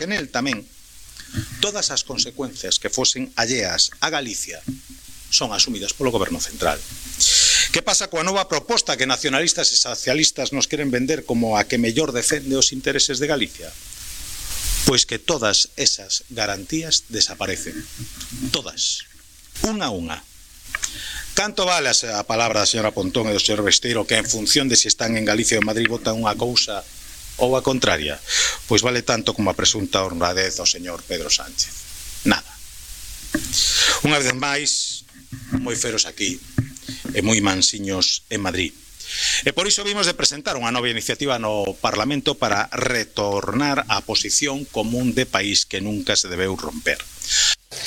que nel tamén todas as consecuencias que fosen alleas a Galicia son asumidas polo Goberno Central. Que pasa coa nova proposta que nacionalistas e socialistas nos queren vender como a que mellor defende os intereses de Galicia? Pois que todas esas garantías desaparecen. Todas. Unha a unha. Canto vale a palabra da señora Pontón e do señor Besteiro que en función de se están en Galicia ou en Madrid votan unha cousa ou a contraria? Pois vale tanto como a presunta honradez do señor Pedro Sánchez. Nada. Unha vez máis, moi feros aquí e moi mansiños en Madrid. E por iso vimos de presentar unha nova iniciativa no Parlamento para retornar á posición común de país que nunca se debeu romper.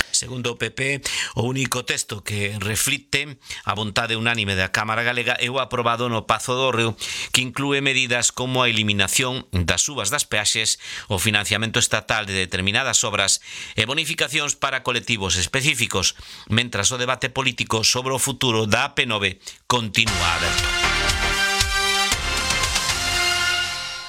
Segundo o PP, o único texto que reflicte a vontade unánime da Cámara Galega é o aprobado no Pazo do Reo, que inclúe medidas como a eliminación das subas das peaxes, o financiamento estatal de determinadas obras e bonificacións para colectivos específicos, mentras o debate político sobre o futuro da AP9 continúa aberto.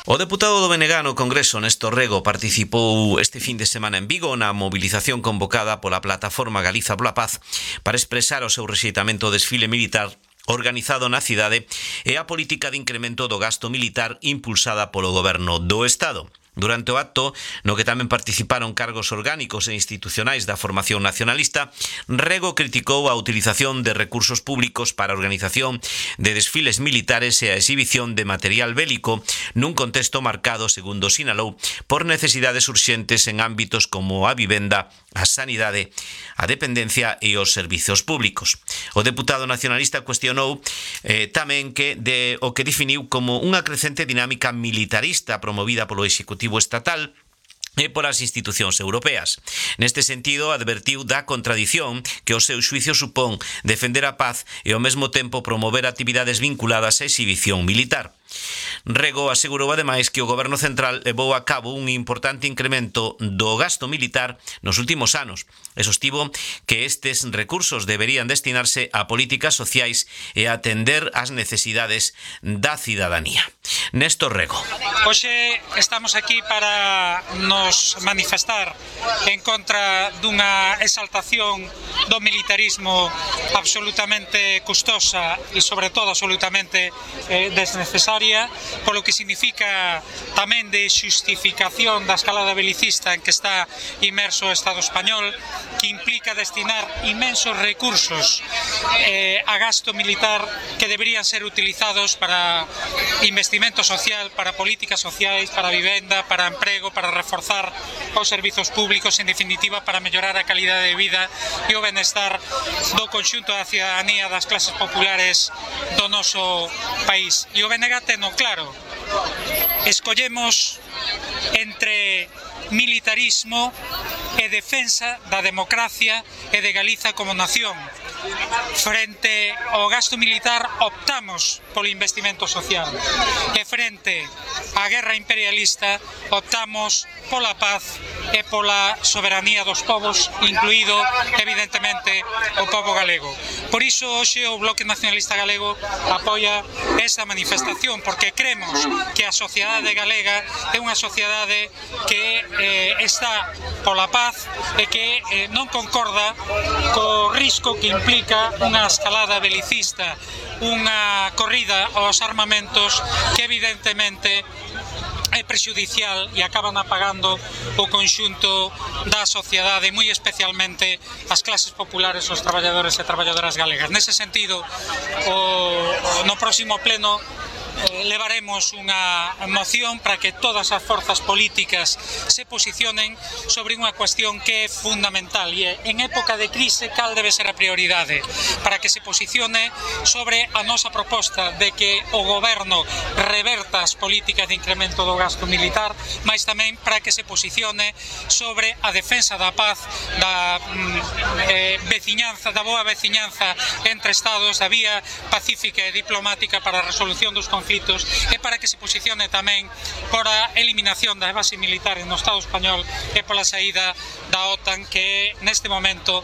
O deputado do BNG no Congreso, Néstor Rego, participou este fin de semana en Vigo na movilización convocada pola plataforma Galiza pola Paz para expresar o seu rexeitamento ao desfile militar organizado na cidade e a política de incremento do gasto militar impulsada polo Goberno do Estado. Durante o acto, no que tamén participaron cargos orgánicos e institucionais da formación nacionalista, Rego criticou a utilización de recursos públicos para a organización de desfiles militares e a exhibición de material bélico nun contexto marcado, segundo sinalou, por necesidades urxentes en ámbitos como a vivenda, a sanidade, a dependencia e os servizos públicos. O deputado nacionalista cuestionou tamén o que definiu como unha crecente dinámica militarista promovida polo Executivo estatal e polas institucións europeas. Neste sentido, advertiu da contradición que o seu xuicio supón defender a paz e ao mesmo tempo promover actividades vinculadas á exhibición militar. Rego asegurou ademais que o Goberno Central levou a cabo un importante incremento do gasto militar nos últimos anos e sostivo que estes recursos deberían destinarse a políticas sociais e a atender as necesidades da cidadanía. Néstor Rego. Hoxe estamos aquí para nos manifestar en contra dunha exaltación do militarismo absolutamente custosa e sobre todo absolutamente desnecesaria, polo que significa tamén de xustificación da escalada belicista en que está inmerso o Estado español, que implica destinar inmensos recursos a gasto militar que deberían ser utilizados para investimento social, para políticas sociais, para vivenda, para emprego, para reforzar os servizos públicos, en definitiva, para mellorar a calidade de vida e o benestar do conxunto da cidadanía das clases populares do noso país. E o BNG teno claro, escollemos entre militarismo e defensa da democracia e de Galiza como nación. Frente ao gasto militar optamos polo investimento social e frente á guerra imperialista optamos pola paz e pola soberanía dos povos, incluído evidentemente o povo galego. Por iso hoxe o Bloque Nacionalista Galego apoia esa manifestación, porque cremos que a sociedade galega é unha sociedade que está pola paz e que non concorda co risco que implica unha escalada belicista, unha corrida aos armamentos que evidentemente é prexudicial e acaban apagando o conxunto da sociedade, moi especialmente as clases populares, os traballadores e traballadoras galegas. Nese sentido, no próximo pleno levaremos unha moción para que todas as forzas políticas se posicionen sobre unha cuestión que é fundamental e é, en época de crise, cal debe ser a prioridade, para que se posicione sobre a nosa proposta de que o goberno reverta as políticas de incremento do gasto militar, mas tamén para que se posicione sobre a defensa da paz, da veciñanza, da boa veciñanza entre estados, da vía pacífica e diplomática para a resolución dos conflitos conflitos e para que se posicione tamén por a eliminación das bases militares no Estado español e pola saída da OTAN, que é neste momento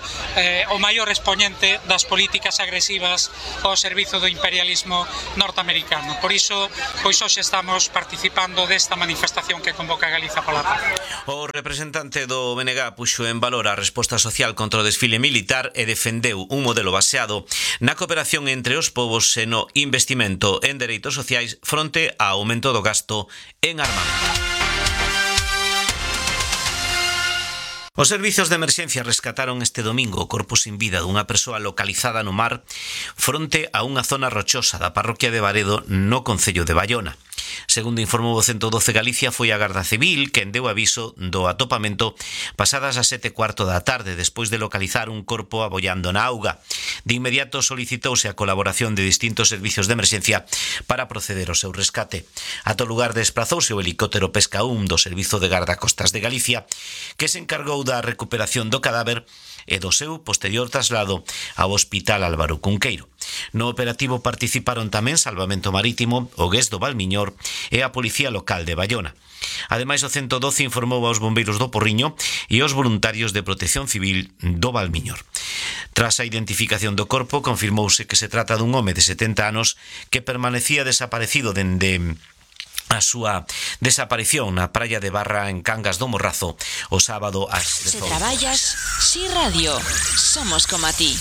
o maior expoñente das políticas agresivas ao servizo do imperialismo norteamericano. Por iso, pois hoxe estamos participando desta manifestación que convoca Galiza pola Paz. O representante do BNG puxo en valor a resposta social contra o desfile militar e defendeu un modelo baseado na cooperación entre os povos e no investimento en dereitos sociais fronte ao aumento do gasto en armamento. Os servizos de emerxencia rescataron este domingo o corpo sin vida dunha persoa localizada no mar fronte a unha zona rochosa da parroquia de Baredo no concello de Baiona. Segundo informou o 112 Galicia, foi a Garda Civil quen deu aviso do atopamento pasadas as 7:15 da tarde despois de localizar un corpo abollando na auga. De inmediato solicitouse a colaboración de distintos servizos de emerxencia para proceder ao seu rescate. Ata o lugar desprazouse o helicóptero Pesca 1 do Servizo de Gardacostas de Galicia, que se encargou da recuperación do cadáver e do seu posterior traslado ao Hospital Álvaro Cunqueiro. No operativo participaron tamén Salvamento Marítimo, o GES do Valmiñor e a Policía Local de Baiona. Ademais, o 112 informou aos bombeiros do Porriño e aos voluntarios de Protección Civil do Valmiñor. Tras a identificación do corpo, confirmouse que se trata dun home de 70 anos que permanecía desaparecido dende a súa desaparición na praia de Barra en Cangas do Morrazo o sábado ás 18. Se traballas, Si Radio, somos como a ti.